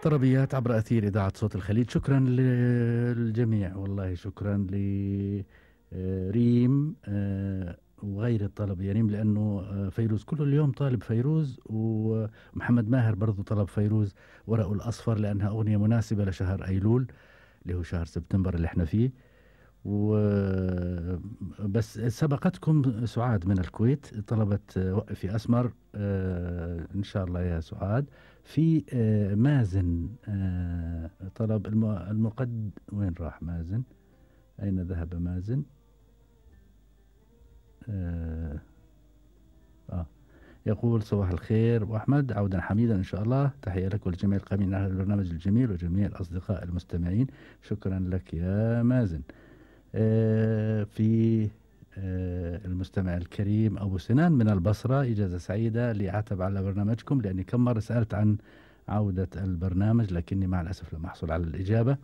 طلبيات عبر أثير إذاعة صوت الخليج. شكرا للجميع، والله شكرا لريم وغير الطلب يا ريم، لأنه فيروز كل اليوم طالب فيروز، ومحمد ماهر برضو طلب فيروز ورقه الأصفر لأنها أغنية مناسبة لشهر أيلول اللي هو شهر سبتمبر اللي احنا فيه. بس سبقتكم سعاد من الكويت طلبت وقفي أسمر. إن شاء الله يا سعاد. في مازن طلب وين راح مازن؟ أين ذهب مازن؟ يقول صباح الخير وأحمد، عودا حميدا إن شاء الله، تحية لك ولجميع القائمين على البرنامج الجميل وجميع الأصدقاء المستمعين. شكرا لك يا مازن. في المستمع الكريم أبو سنان من البصرة، إجازة سعيدة لأعتب على برنامجكم لأني كم مرة سألت عن عودة البرنامج لكني مع الأسف لم أحصل على الإجابة.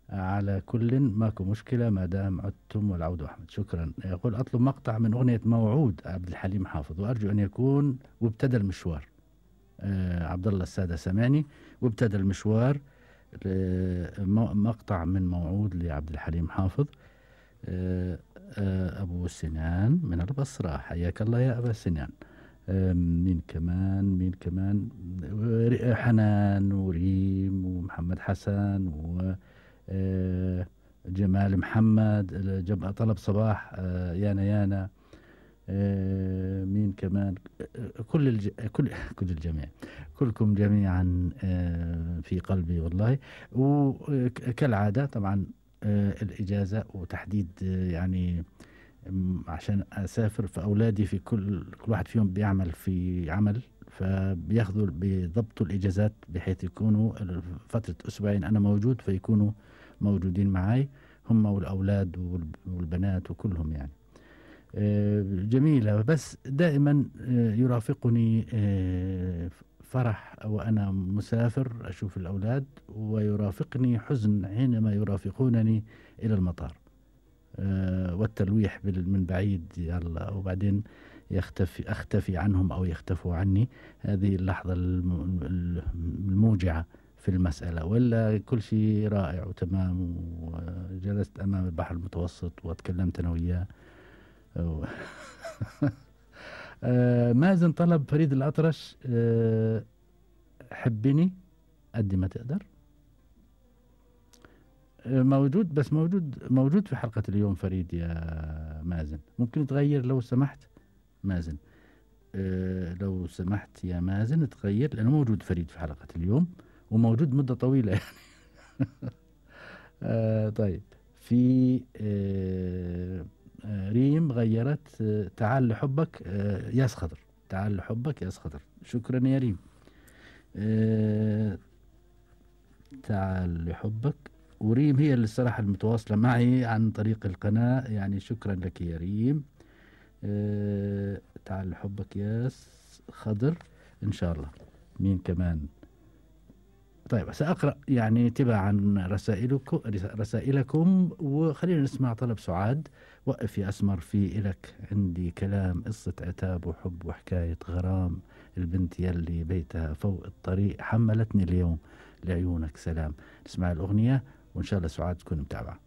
على كل ماكو مشكلة ما دام عدتم والعود أحمد. شكرا. يقول أطلب مقطع من أغنية موعود عبد الحليم حافظ وأرجو أن يكون وابتدى المشوار. عبد الله السادة سمعني. وابتدى المشوار، مقطع من موعود لعبد الحليم حافظ. أبو سنان من البصرة، حياك الله يا أبا سنان. مين كمان حنان وريم ومحمد حسن وجمال محمد طلب صباح يانا. مين كمان؟ كل الجميع، كلكم جميعا في قلبي والله. وكالعادة طبعا الإجازة وتحديد يعني عشان أسافر، فأولادي في كل واحد فيهم بيعمل في عمل، فبياخذوا بضبطوا الإجازات بحيث يكونوا فترة أسبوعين أنا موجود فيكونوا موجودين معي هم والأولاد والبنات وكلهم يعني. جميلة. بس دائما يرافقني فرح وأنا مسافر أشوف الأولاد، ويرافقني حزن حينما يرافقونني إلى المطار، والتلويح من بعيد يلا، وبعدين أختفي عنهم أو يختفوا عني. هذه اللحظة الموجعة في المسألة، ولا كل شيء رائع وتمام. وجلست أمام البحر المتوسط وتكلمت أنا وياه. مازن طلب فريد الأطرش حبني قد ما تقدر. موجود، بس موجود في حلقة اليوم فريد يا مازن. ممكن تغير لو سمحت مازن. لو سمحت يا مازن تغير، لأنه موجود فريد في حلقة اليوم وموجود مدة طويلة يعني. طيب. في ريم غيرت تعال لحبك ياس خضر. تعال لحبك ياس خضر. شكرا يا ريم. تعال لحبك. وريم هي اللي الصراحة المتواصلة معي عن طريق القناة يعني. شكرا لك يا ريم. تعال لحبك ياس خضر إن شاء الله. مين كمان؟ طيب سأقرأ يعني تباعا رسائلكم وخلينا نسمع طلب سعاد. وقف يا أسمر في إلك عندي كلام، قصة عتاب وحب وحكاية غرام، البنت يلي بيتها فوق الطريق حملتني اليوم، لعيونك سلام. نسمع الأغنية وإن شاء الله سعاد تكون متابعة.